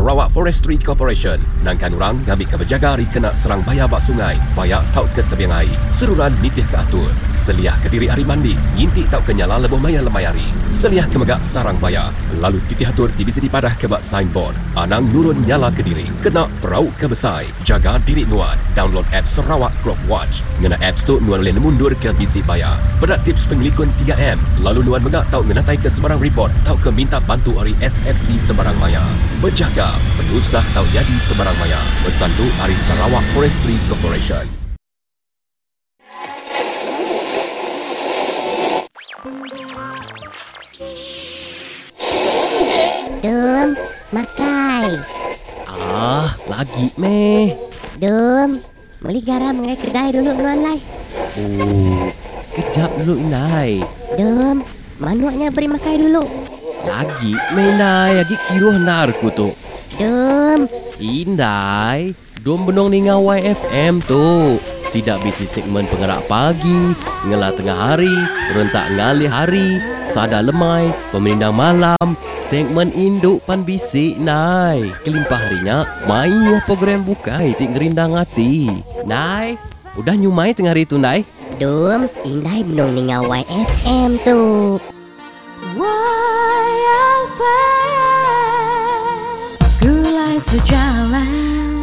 Sarawak Forestry Corporation nangkan orang ngambika bejaga ari kena serang baya ba sungai, paya tauka tebing ai. Seruran nitihka atur. Seliahka diri ari mandi, nginti tauka nyala lebuh maya lemai hari. Seliahka mega sarang baya, lalu titih atur ti bisi dipadahka ba signboard. Anang nurun nyala kediri. Kena perau ke besai. Jaga diri nuan. Download app Sarawak Crop Watch. Ngena apps tu nuan ulih nemu endur ke bisi baya. Peda tips pengelikun 3M lalu nuan mega tau ngenataika sebarang ripot tauka minta bantu ari SFC sebarang maya. Bejaga, penusah tau nyadi sebarang maya. Pesan tu ari Sarawak Forestry Corporation. Dum, makai. Ah, lagi meh. Dum, beli garam ngagai kedai dulu nuan lai. Oh, sekejap dulu indai. Dum, manuk nya beri makai dulu. Lagi meh indai, agi kiruh endar ku tu. Dum. Indai, Dum benung ninga YFM tu. Sida bisi segmen pengerak pagi, ngela tengah hari, rentak ngalih hari, sada lemai, pemerindang malam, segmen indu pan bisi ndai. Kelimpah ari nya, mayuh program bukai ti ngerindang ati. Ndai, udah nyumai tengah hari tu ndai? Dum, indai benung ninga YFM tu.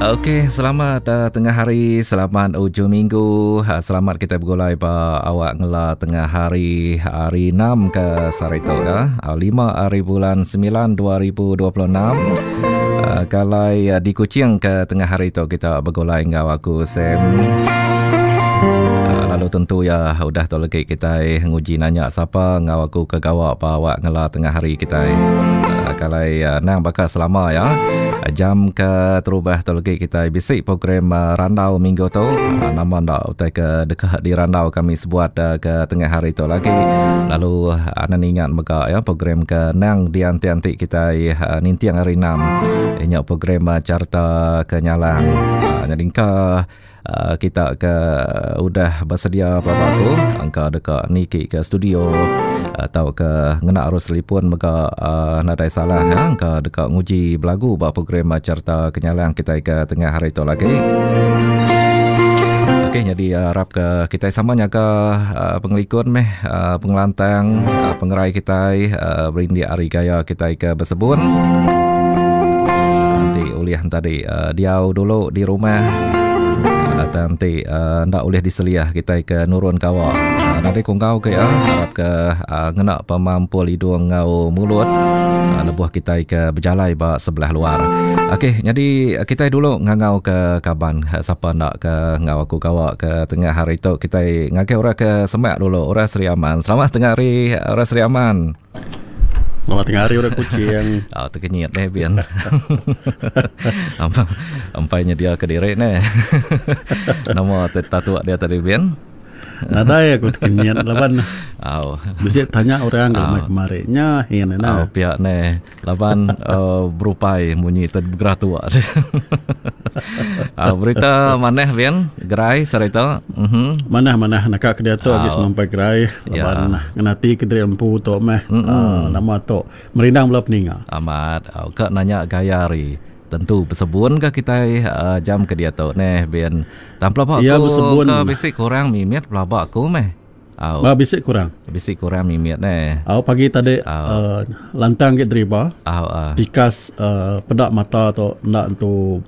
Okey, selamat uh, tengah hari, selamat ujung minggu. Uh, selamat kita bergulai ba awak ngela tengah hari hari 6 ke sehari tu ya. Uh, 5 hari bulan 9 2026. Uh, kalai uh, di Kuching ke tengah hari tu kita bergulai enggau aku Sam. Uh, lalu tentu ya udah tu lagi kita nguji nanya sapa enggau aku ke gawa ba awak ngela tengah hari kitai. Uh, kalai uh, nang baka selama ya. Jam ke terubah tu lagi kitai bisi program uh, randau minggu tu. Uh, nama ndak utai ke deka dirandau kami sebuat uh, ke tengah hari tu lagi. Lalu uh, anan ingat mega ya program ke nang dianti-anti kitai uh, ninting hari enam. Inya program uh, carta kenyalang. Uh, jadi ka Uh, kita ke udah bersedia pelaba aku angka deka niki ke studio atau ke ngena arus telefon mega uh, nadai salah ya angka deka nguji belagu ba program cerita kenyalang kita ke tengah hari tu lagi. Okey jadi harap ke kita sama nyaga uh, pengelikun meh uh, pengelantang uh, pengerai kita uh, berindik hari gaya kita ke bersebun. Nanti ulih tadi uh, diau dulu di rumah uh, nanti uh, ndak ulih diseliah kita ke nurun kawa. Uh, nanti kongkau ke ya harap ke uh, ngena pemampul hidung ngau mulut uh, lebuh kita ke berjalai ba sebelah luar. Okey, jadi kita dulu ngangau ke kaban siapa nak ke ngau aku kawa ke tengah hari tu kita ngagai orang ke semak dulu orang Sri Aman. Selamat tengah hari orang Sri Aman. Selamat tengah hari orang kucing. Oh, terkenyit deh Bian. Ampai nyedia ke diri neh. Nama tatua dia tadi Bian. Nadai aku tekenyit laban. Au. Bisi tanya orang ke kemari nya hin ina. Au pia neh. Laban uh, berupai munyi tu bergerah tua. uh, berita manah Bian gerai serita. Mhm. Manah manah naka ke diatu agi semampai gerai laban ya. ngenati ke diri empu tu meh. Mm -hmm. uh, nama tu merindang bela peninga. Amat. Uh, ka nanya gaya hari tentu bersebun ke kitai uh, jam ke diatu neh Bian. Tang pelaba aku ya, bersebun. ke bisi kurang mimit pelaba aku meh. Au. Ba bisi kurang. Bisi kurang mimit neh. Au pagi tadi uh, lantang ke driba. Au uh. Tikas uh, peda mata tu enda entu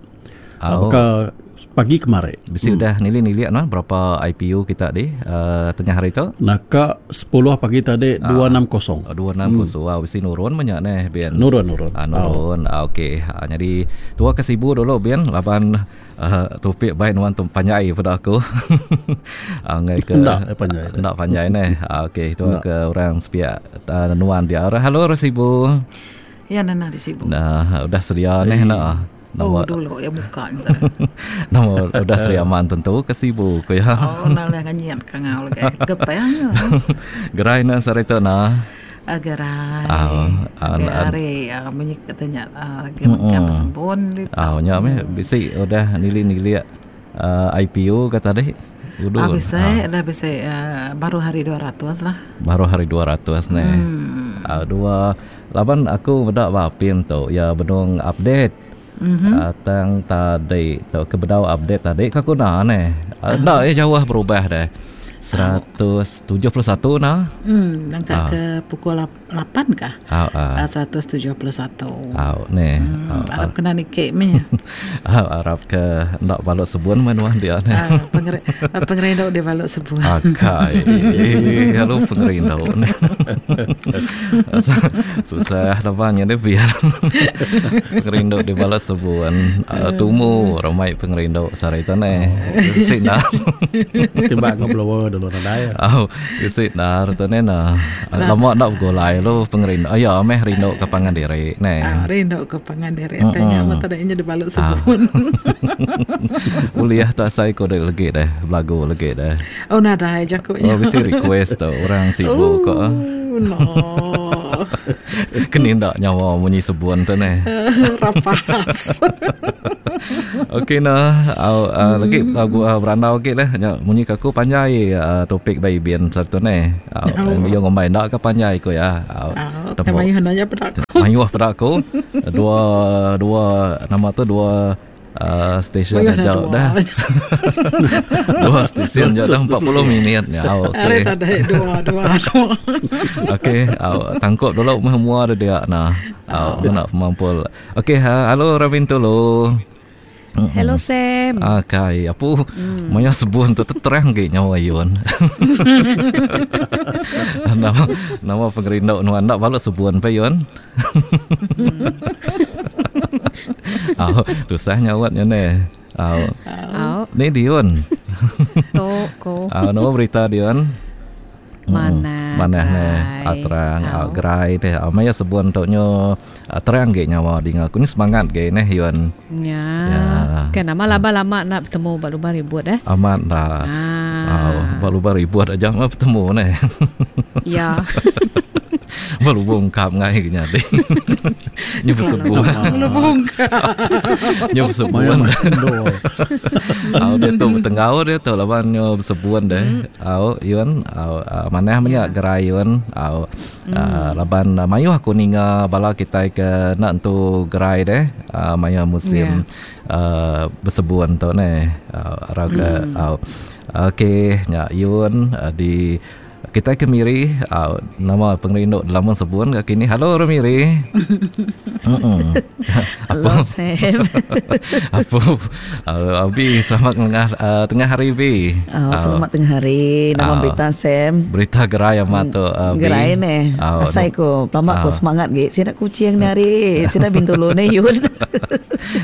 uh, baka pagi kemari. Bisi hmm. udah nili-nili no berapa IPU kita di uh, tengah hari tu? Naka 10 pagi tadi uh, 260. 260. Hmm. Wow, bisi nurun banyak neh bian. Nurun nurun. Uh, nurun. Uh, okey. Uh, jadi tua ke Sibu dulu bian laban Uh, topik baik nuan tu panjai pada aku. uh, ngai ke Ndak eh, panjai. Ndak panjai neh. Uh, okey, itu ke orang sepiak uh, nuan dia. Halo Resibu. Ya nana di Sibu. Nah, udah sedia neh nak. Nama, oh, dulu ya buka Nama udah sedia aman tentu ke Sibu ko ya. Oh, nah lah nganyian ka ngau lagi. Gepeng. Gerai na sarita na. Gerai. Ari munyi kata nya agi mega besembun ditu. Au nya meh bisi udah nilik-nilik IPO ka tadi. Udu. Bisi dah bisi baru hari 200 lah. Baru hari 200 neh. Dua laban aku meda ba apin tu iya benung update. Mm-hmm. Tang tadi tu ke bedau update tadi ka guna neh. Enda uh. jauh berubah deh. 171 nah. Hmm, nangka uh. ke pukul 8 kah? Uh, uh. 171. Au neh. Hmm, arap kena nikik meh. Au arap ke enda balut sebun menuan dia neh. Uh, pengerindu dia balut sebun. Akai. Lalu pengerindu neh. Susah laban nya biar. Pengerindu di balut sebun. Uh, tumu ramai pengerindu sehari tu neh. Bisi nar. Timbak ngau blower dulu nadai. Au, bisi nar tu neh nah. Lama enda begulai lu pengerindu. Aya meh rindu ke pangan diri neh. Ah, rindu ke pangan diri. Tanya mata dah inya dibalut sebun. Ulih tak asai ko dek legi deh, belagu legi deh. Oh nadai jaku nya. Oh bisi request tu orang sibu ko. Oh no. Keni enda nyawa munyi sebun tu neh. Rapas. Okey nah, au uh, lagi lagu uh, berandau agi lah nya munyi ka aku panjai uh, topik ba ibin satu neh. Au uh, yo ngumbai enda ka panjai ko ya. Au. Uh, mayuh nanya peda aku. Mayuh peda aku. Dua dua nama tu dua Uh, stesen Mayuh dah jauh dah. Dua stesen jauh dah 40 minit ya. Okey. Ada dua dua dua. Okey, au tangkup dulu meh mua dia dia nah. Au nak pemampul. Okey, ha, halo Ravin tulu. Hello Sam. Ah kai, apu mm. maya sebun tu terang ge nyawa yun. nama nama pengerindu nuan nak balut sebun pe yun. Au, tusah nyawat nya ne. Au. Au. Ni Dion. Tok ko. Au, nama berita Dion? Manah. Manah ne. Au terang, au gerai deh. Au maya sebun tu nyo terang ge nyawa dinga aku ni semangat ge neh Yun. Ya. ya. Kan nama lama lama nak bertemu ba lubang ribut eh. Amat dah. Ah. Au, ba lubang ribut aja mah bertemu neh. Ya. Ba lubung kap ngai ke nyadi. Nyu besebuan. Lubung kap. Nyu besebuan. Au dia tu betenggau dia tu laban nyu besebuan deh. Au yun au manah menya gerai yun au laban mayuh aku ninga bala kitai ke enda entu gerai deh maya musim besebuan tu neh. Arau ke au. Okey nya yun di Kitai ke Miri au nama pengerindu dalam sebun ka kini. Halo orang Miri. Mm. Halo Sam. Apa? Uh, Abi selamat tengah uh, tengah hari Bi. Oh, selamat tengah hari. Nama uh, berita Sam. Berita gerai amat tu uh, Bi. Gerai ne. Uh, Asai ko lama ko semangat ge. Sida kucing ni hari. Sida bintulu ne yun.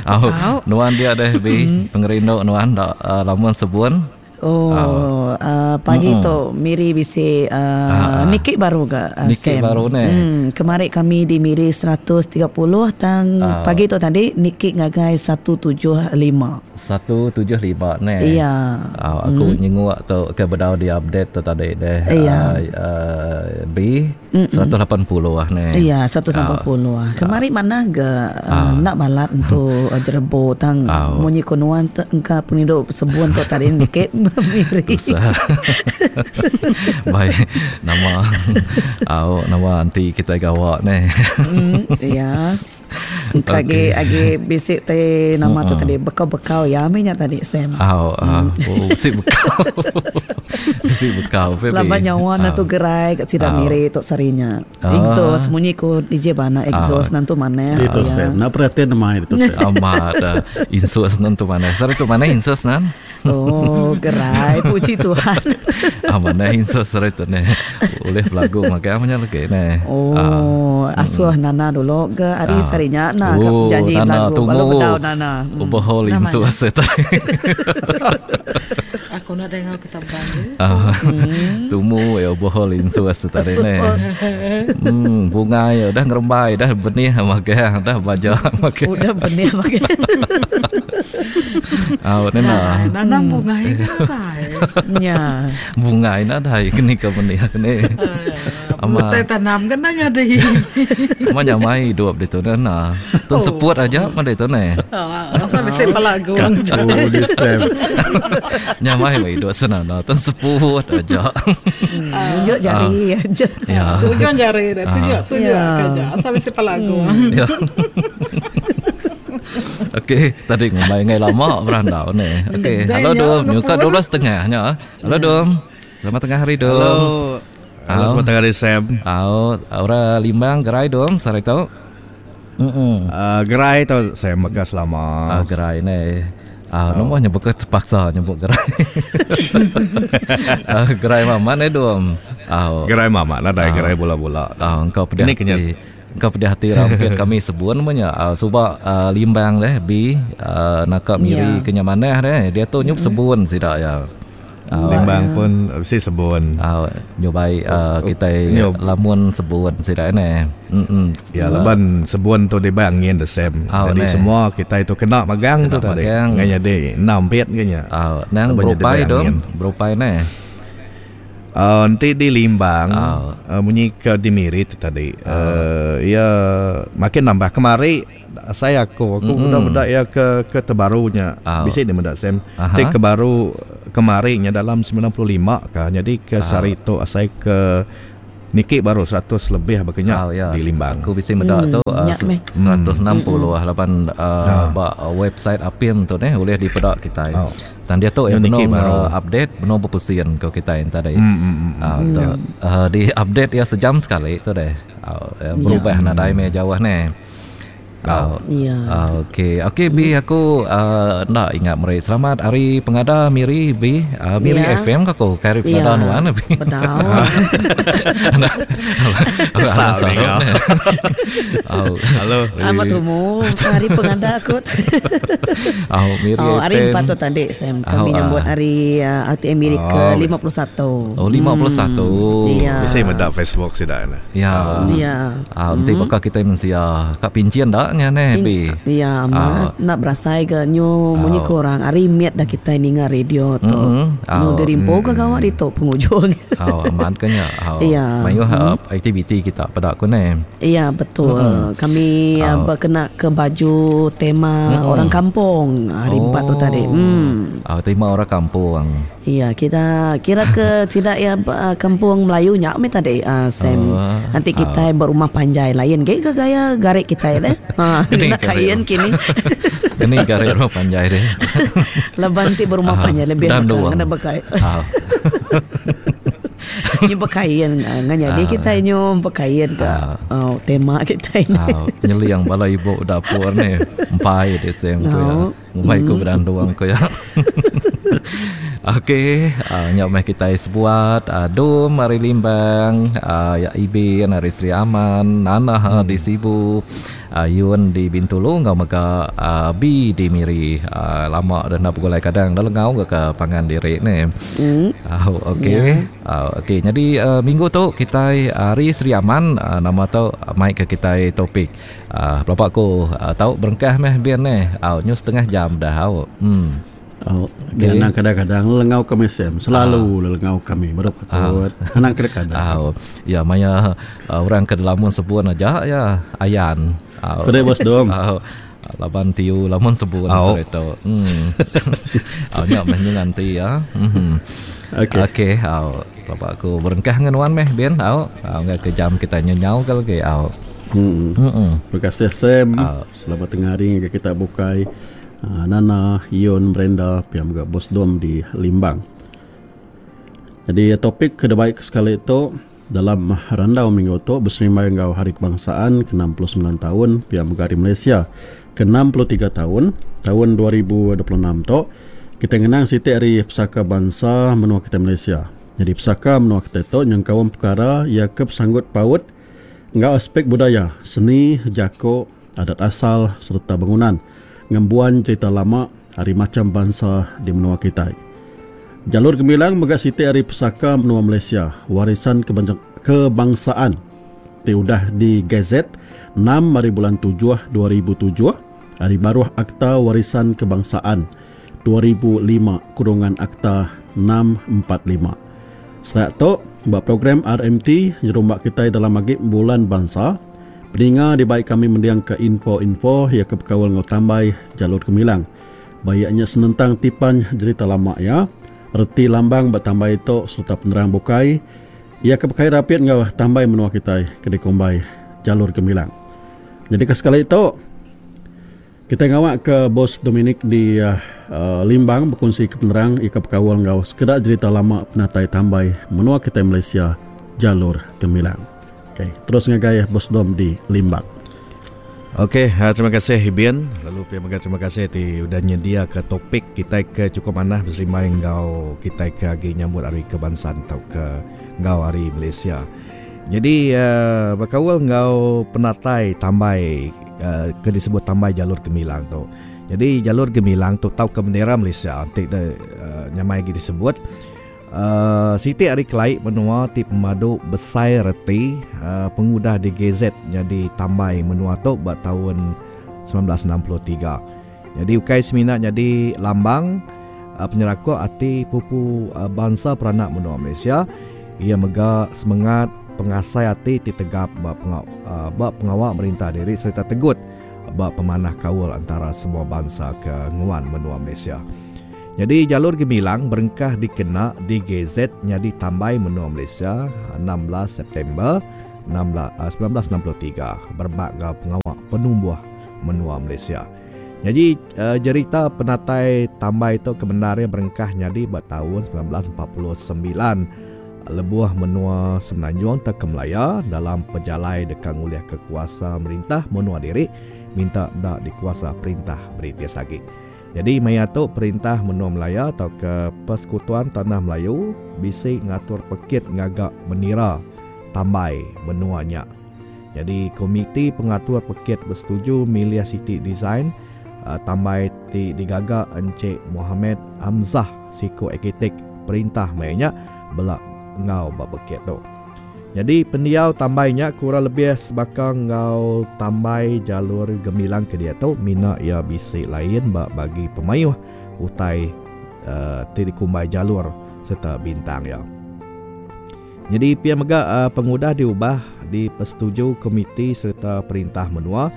Oh, nuan dia deh Bi. Pengerindu nuan dak uh, lamun sebun. Oh, uh, pagi mm-hmm. tu Miri bisi uh, niki baru ga uh, niki Sam. baru ne. Hmm, kemari kami di Miri 130 tang uh. pagi tu tadi niki ngagai 175. 175 ne. Iya. Uh, aku mm. nyenguk tu ke bedau di update tu tadi deh. Iya. Uh, B 180 ah ne. Iya, 180 ah. Kemari mana ga uh, nak balat untuk uh, jerebo tang uh. munyi konuan engka pengidup sebuan tu tadi dikit miri. Baik, nama au nama anti kita gawa ne. Ya. Engka agi agi bisi te nama tu tadi bekau-bekau ya meh nya tadi Sam. Au oh bisi bekau. Bisi bekau pe. Laban nyawa na tu gerai kat sida miri tu sari nya. Exhaust munyi ku DJ bana exhaust nan tu manah. Itu Sam. Nak perhatian nama itu Sam. Amat insus nan tu manah. Sari tu manah insus nan. Oh gerai puji Tuhan. Ah manah insus sari tu ne. Ulih belagu makai punya lagi ne. Oh asuh Nana dulu ke ari sari nya na oh, janji Nana belagu tumu. baru bedau Nana. Overhaul insus tadi. Aku nak dengar kita belagu. Tumu ya overhaul insus tadi ne. Bunga ya dah ngerembai dah benih makai dah baja makai. Udah benih makai. Ah, nena. Nanam bunga ini nadai. Ya. Bunga ini nadai kini ke benih kini. Ama tanam kan nanya deh. Ama nyamai hidup di tu nena. Tun seput aja mah di tu ne. Asa bisi pelagu. Nyamai mah hidup senana. Tun seput aja. Tunjuk jari aja. Ya. Tunjuk jari dah. Tunjuk tunjuk aja. Asa bisi pelagu. Ya. Okey, tadi ngumbai ngai lama berandau ni. Okey, halo Dom, nyuka 12.30 nya. Halo Dom. Selamat tengah hari Dom. Halo. Halo, selamat tengah hari Sam. Au, ora Limbang gerai Dom sehari tu. Mm. Gerai tu Sam mega selama. Gerai ni. Nama nya bukan terpaksa nyebut gerai. Gerai mamat ni Dom. Gerai mamat nadai gerai bula-bula. Engkau pedih hati. Engkau pedih hati rampit kami sebun punya. Suba Limbang deh bi naka Miri ke nya manah deh. Diatu nyup sebun sida iya. Limbang pun bisi sebun. Nyubai kitai lamun sebun sida ne. Ya laban sebun tu dibai angin the same. Jadi semua kitai tu kena magang tu tadi. Ngai nyadi enda ampit ke nya. Nang berupai tu, berupai ne. Enti di Limbang munyi ke di Miri tu tadi iya makin nambah kemari Asai aku, aku meda meda iya ke ke terbaru nya. Bisi nya meda Sam. Ti ke baru kemari nya dalam 95 ka. Nyadi ke sehari tu asai ke niki baru 100 lebih baka nya di Limbang. Aku bisi meda tu 160 laban ba website Apim tu neh ulih dipeda kitai. Tang diatu iya benung update benung bepusin ko kitai enti tadi. Tu di update iya sejam sekali tu deh. Berubah nadai meh jauh neh. Tau. Ya. Okey, okey bi aku enda ingat meri selamat hari pengada Miri bi. Miri Ya. FM ka aku kai hari pengada Ya. nuan bi. Bedau. Kesal ninga. Au. Halo. Amat tumu hari pengada aku. Au Miri Oh, hari FM. 4 tu tadi Sam Au, kami nyambut ah. hari RTM Miri ke Oh. 51. Oh 51. Ya. Bisi meda Facebook sida ne. Ya. Ya. Ah, enti baka kitai mensia ka pinchin da nya neh bi. Ya amat enda berasai ga nyu munyi ku orang ari mit dah kitai ninga radio tu. Nyu dirimpu ka gawa ditu pengujung. Au amat ka nya. Au mayuh aktiviti kita peda ku neh. Ya betul. Kami bekena ke baju tema orang kampung hari empat tu tadi. Au tema orang kampung. Iya, kita kira ke sida iya kampung Melayu nya meh tadi Sam. Enti kitai berumah panjai lain ge ga gaya gari kitai deh. Ha ngena kain kini. Keni gari rumah panjai deh. Laban ti berumah panjai lebih ngena bekai. Nyu bekain ngan nyadi kitai nyu bekain ka tema kitai ni. Nyeling bala ibu dapur ni empai deh Sam ku iya. Ngumbai ku berandung ku iya. Okey, uh, nya meh kitai sebuat uh, Dum ari Limbang, uh, ya Ibin ari Sri Aman, Nana hmm. di Sibu, uh, Yun di Bintulu enggau mega uh, B di Miri. Uh, lama dah nak begulai kadang dah lengau ga ke pangan diri ni. Hmm. Uh, okey. Yeah. Uh, okey, jadi uh, minggu tu kitai ari Sri Aman uh, nama tu mai ke kitai topik Uh, pelaba aku uh, tau berengkah meh bin neh. Au nyu setengah jam dah au. Hmm. Au okay. Anang kadang-kadang lelengau kami Sam. Selalu uh. lelengau kami baru patut. Uh. Anang kadang-kadang. Au. Ya maya uh, orang ke lamun sebun aja ya ayan. Au. Kedai bos dom. Au. Laban tiu lamun sebun sereta. Hmm. Au nya meh nyu nganti ya. Hmm. Okey. Okey, au. Pelaba aku berengkah ngan nuan meh bin. Au. Au enggai ke jam kita nyu nyau ke lagi. Au. Hmm. Mm-mm. Terima kasih Sam. Au. Selamat tengah hari ngagai kita bukai. Uh, Nana, Yun, Brenda, pia mega Bos Dom di Limbang. Jadi topik ke debai ke sekali tu dalam randau minggu tu beserimbai enggau Hari Kebangsaan ke 69 taun pia mega Hari Malaysia ke 63 taun, taun 2026 tu, kitai ngenang siti ari pesaka bansa menua kitai Malaysia. Nyadi pesaka menua kitai tu nyengkaum pekara iya ke besanggut paut enggau aspek budaya, seni, jaku, adat asal sereta bangunan ngembuan cherita lama ari macham bansa di menua kitai. Jalur Gemilang mega siti ari pesaka menua Malaysia, warisan kebangsaan ti udah digazet enam ari bulan tujuh 2007 ari baruh Akta Warisan Kebangsaan 2005 kurungan Akta 645. Serak tu, ba program RMT nyerumba kitai dalam agi Bulan Bansa, peninga dibai kami mendingka info-info iya ke bekaul enggau tambai Jalur Gemilang. Ba iya nya senentang tipan jerita lama iya, reti lambang ba tambai tu sereta penerang bukai iya ke bekai rapit enggau tambai menua kitai ke dikumbai Jalur Gemilang. Nyadika sekali tu. Kitai ngawakka Bos Dominic di Limbang bekunsi ke penerang ika bekaul enggau sekeda jerita lama penatai tambai menua kitai Malaysia Jalur Gemilang. Okey, terus ngagai Bos Dom di Limbang. Okey, terima kasih Ibin. Lalu pia mega terima kasih ti udah nyendiaka topik kitai ke chukup manah beserimbai enggau kitai ke agi nyambut Hari Kebangsaan tauka enggau Hari Malaysia. Nyadi bekaul enggau penatai tambai ke disebut tambai Jalur Gemilang tu. Nyadi Jalur Gemilang tu tauka bendera Malaysia enti ne nyamai agi disebut siti ari kelai menua ti pemadu besai reti pengudah digazet nyadi tambai menua tu ba taun 1963. Nyadi ukai semina nyadi lambang penyerakup ati pupu bansa peranak menua Malaysia, iya mega semengat pengasai ati ti tegap ba ba pengawa merintah diri sereta tegut ba pemanah kaul antara semua bansa ke nguan menua Malaysia. Nyadi Jalur Gemilang berengkah dikena digazet nyadi tambai menua Malaysia 16 September 1963 berebak enggau pengawa penumbuh menua Malaysia. Nyadi jerita penatai tambai tu ke bendar iya berengkah nyadi ba taun 1949 lebuh menua Semenanjung tauka Malaya dalam pejalai deka ngulihka kuasa merintah menua diri minta enda dikuasa perintah British agi. Nyadi maya tu perintah menua Malaya tauka Persekutuan Tanah Melayu bisi ngatur pekit ngaga menira tambai menua nya. Nyadi komiti pengatur pekit besetuju milih siti design tambai ti digaga Encik Mohamed Hamzah siku arkitek perintah maya nya bela enggau ba pekit tu. Nyadi pendiau tambai nya kurang lebih sebaka enggau tambai jalur gemilang ke diatu mina iya bisi lain ba bagi pemayuh utai ti dikumbai jalur sereta bintang iya. Nyadi pia mega pengudah diubah dipesetuju komiti sereta perintah menua,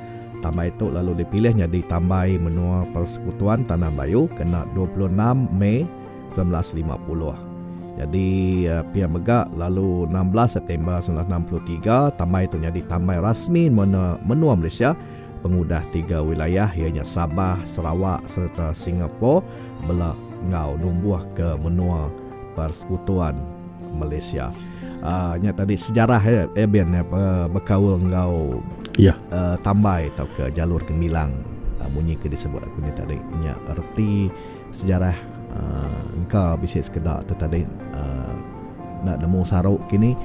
tambai tu lalu dipilih nyadi tambai menua Persekutuan Tanah Melayu kena 26 Mei 1950. Nyadi pia mega lalu 16 September 1963 tambai tu nyadi tambai rasmi menua Malaysia pengudah tiga wilayah iya nya Sabah, Sarawak sereta Singapore bela enggau numbuhka menua Persekutuan Malaysia. Uh, nya tadi sejarah ya, eh, Ben ya, bekaul enggau ya. Tambai tauka jalur gemilang munyi ke disebut aku nya tadi nya reti Sejarah engka bisi sekeda tu tadi enda nemu saru kini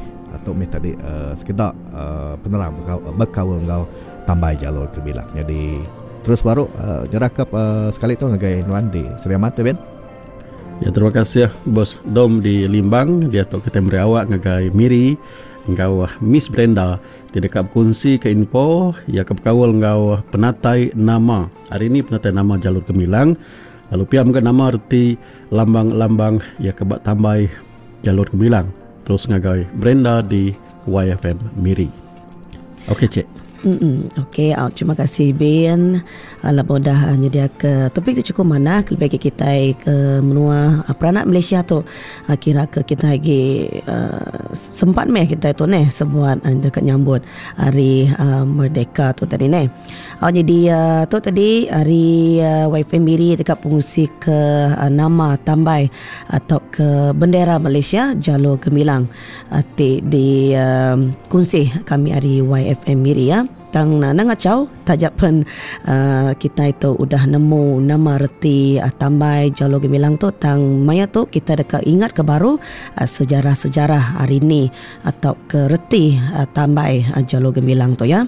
tu mih tadi sekeda penerang bekaul enggau tambai jalur ke bilang. Nyadi terus baru nyerahka sekali tu ngagai nuan di Sri Aman tu Ben. Ya terima kasih bos Dom di Limbang diatu kitai meri awak ngagai Miri enggau Miss Brenda ti deka bekunsi ke info iya ke bekaul enggau penatai nama. Hari ni penatai nama Jalur Gemilang lalu pia mega nama reti lambang-lambang iya ke ba tambai Jalur Gemilang terus ngagai Brenda di YFM Miri. Okey cik. Mm okey, au terima kasih Bin. Laban udah nyediaka topik ti chukup manah kelebih agi kitai ke menua peranak Malaysia tu kira ke kitai agi sempat meh kitai tu neh sebuat deka nyambut hari merdeka tu tadi neh. Au nyadi tu tadi ari wifi Miri deka pengusi ke nama tambai tauka bendera Malaysia Jalur Gemilang ti di kunsi kami ari YFM Miri ya. Tang nang ngachau taja pen kitai tu udah nemu nama reti tambai Jalur Gemilang tu tang maya tu kitai deka ingat ke baru sejarah-sejarah hari ni tauka reti tambai Jalur Gemilang tu ya.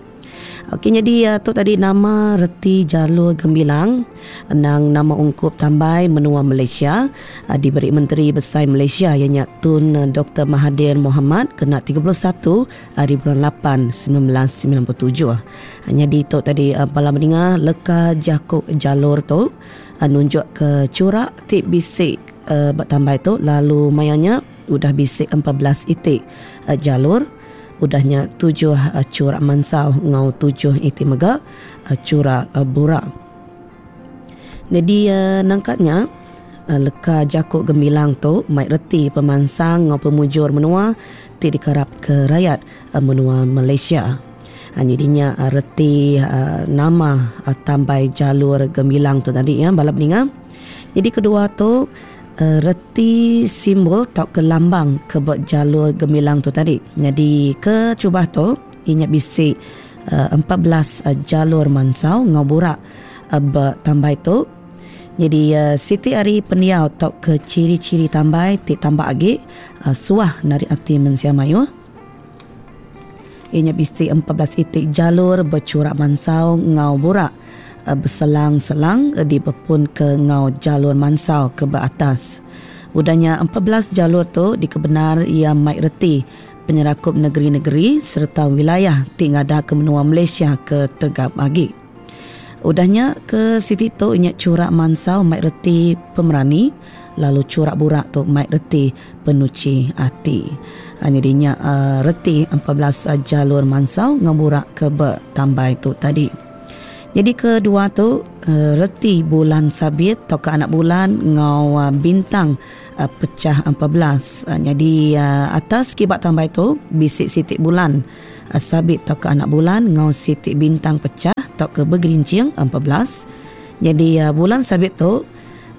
Okey nyadi tu tadi nama reti Jalur Gemilang endang nama ungkup tambai menua Malaysia diberi Menteri Besai Malaysia iya nya Tun Doktor Mahathir Mohamad kena 31 hari bulan lapan 1997. Nyadi tu tadi bala meninga leka jaku jalur tu nunjukka churak ti bisi ba tambai tu lalu maya nya udah bisi 14 iti jalur. Udah nya tujuh churak mansau enggau tujuh iti mega churak burak. Nyadi nangka nya leka jaku gemilang tu mai reti pemansang enggau pemujur menua ti dikarapka rayat menua Malaysia. Nyadi nya reti nama tambai jalur gemilang tu tadi ya bala peninga. Jadi kedua tu reti simbol tauka lambang ke ba jalur gemilang tu tadi. Jadi ke cubah tu inya bisi 14 jalur mansau ngau burak ba tambai tu. Jadi siti ari pendiau tauka ciri-ciri tambai ti tambah agi suah narik ati mensia mayuh. Inya bisi 14 itik jalur bercurak mansau ngau burak berselang-selang dibepun ke ngau jalur mansau ke ba atas. Udahnya 14 jalur tu dikebenar ia mai reti penyerakup negeri-negeri serta wilayah ti ngada ke menua Malaysia ke tegap agi. Udahnya ke siti tu nya curak mansau mai reti pemerani, lalu curak burak tu mai reti penuci ati. Jadi nya reti 14 jalur mansau ngau burak ke bertambai tu tadi. Jadi kedua tu reti bulan sabit atau ke anak bulan ngau bintang pecah 14. Jadi atas kibat tambai tu bisik siti bulan sabit atau ke anak bulan ngau siti bintang pecah atau ke bergerincing 14. Jadi bulan sabit tu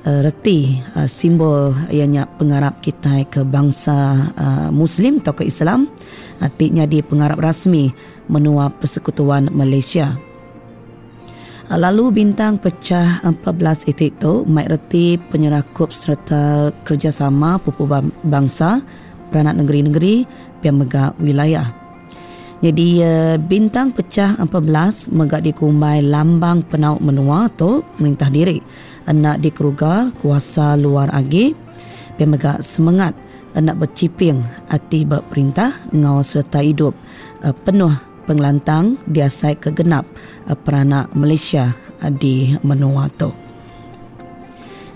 reti simbol ianya pengarap kita ke bangsa Muslim atau ke Islam ti jadi pengarap rasmi menua Persekutuan Malaysia. Lalu bintang pecah 14 itik tu mai reti penyerakup serta kerjasama pupu bangsa peranak negeri-negeri pihak mega wilayah. Jadi bintang pecah 14 mega dikumbai lambang penau menua tu merintah diri nak dikeruga kuasa luar agi pihak mega semangat nak berciping ati berperintah ngau serta hidup penuh pengelantang diasai kegenap peranak Malaysia di menua tu.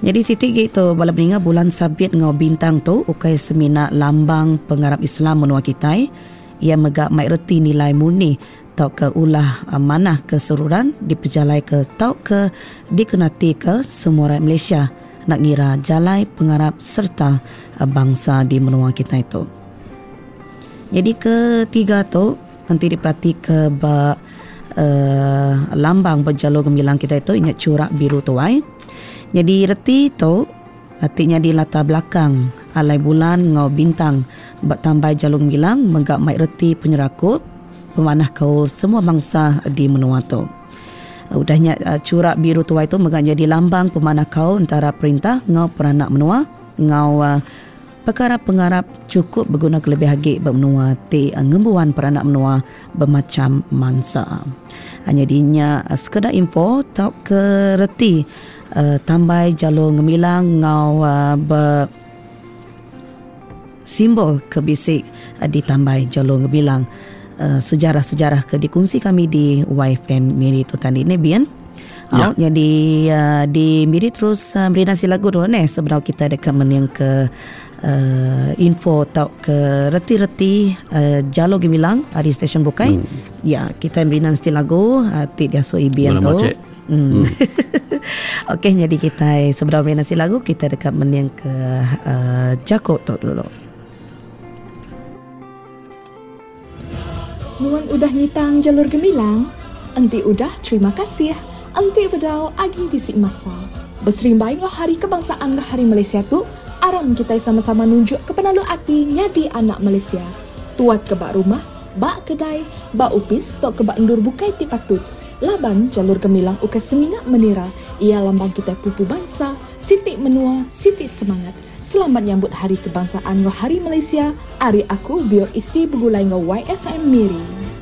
Jadi siti gitu bala peninga bulan sabit ngau bintang tu ukai semina lambang pengarap Islam menua kitai ia mega mai reti nilai murni tau ke ulah manah keseruran dipejalai ke tau ke dikenati ke semua rakyat Malaysia nak ngira jalai pengarap serta bangsa di menua kita itu. Jadi ketiga tu nanti diperhati ke ba lambang berjalur gemilang kita itu ingat curak biru tuai. Jadi reti tu artinya di latar belakang alai bulan ngau bintang bertambah jalur gemilang menggak mai reti penyerakup pemanah kaul semua bangsa di menua tu. Udahnya curak biru tuai tu menggak jadi lambang pemanah kaul antara perintah ngau peranak menua ngau perkara pengarap cukup berguna kelebih agi bermenua ti ngembuan peranak menua bermacam mangsa. Hanya dinya sekedar info tau ke reti tambai jalur ngemilang ngau ber simbol kebisik ditambai jalur ngemilang sejarah-sejarah ke dikongsi kami di YFM Miri tu tadi ni Bian. Ya. Jadi di Miri terus beri nasi lagu dulu ni sebelum kita dekat mening ke info atau ke reti-reti jalur gemilang di stesen Bukai. Ya, kita beri nasi lagu ti dia so ibian tu. Okey, jadi kita sebelum beri nasi lagu kita dekat mening ke Jakut tu dulu. Nuan udah ngitang jalur gemilang, enti udah terima kasih. Enti bedau agi bisik masa. Berserimbai ngah hari kebangsaan ngah hari Malaysia tu, aram kita sama-sama nunjuk ke penalu ati nyadi anak Malaysia. Tuat ke bak rumah, bak kedai, bak upis tok ke bak endur bukai ti patut. Laban jalur gemilang uka semina menira, ia lambang kita pupu bangsa, sitik menua, sitik semangat. Selamat nyambut Hari Kebangsaan ngah Hari Malaysia. Ari aku bio isi begulai ngah YFM Miri.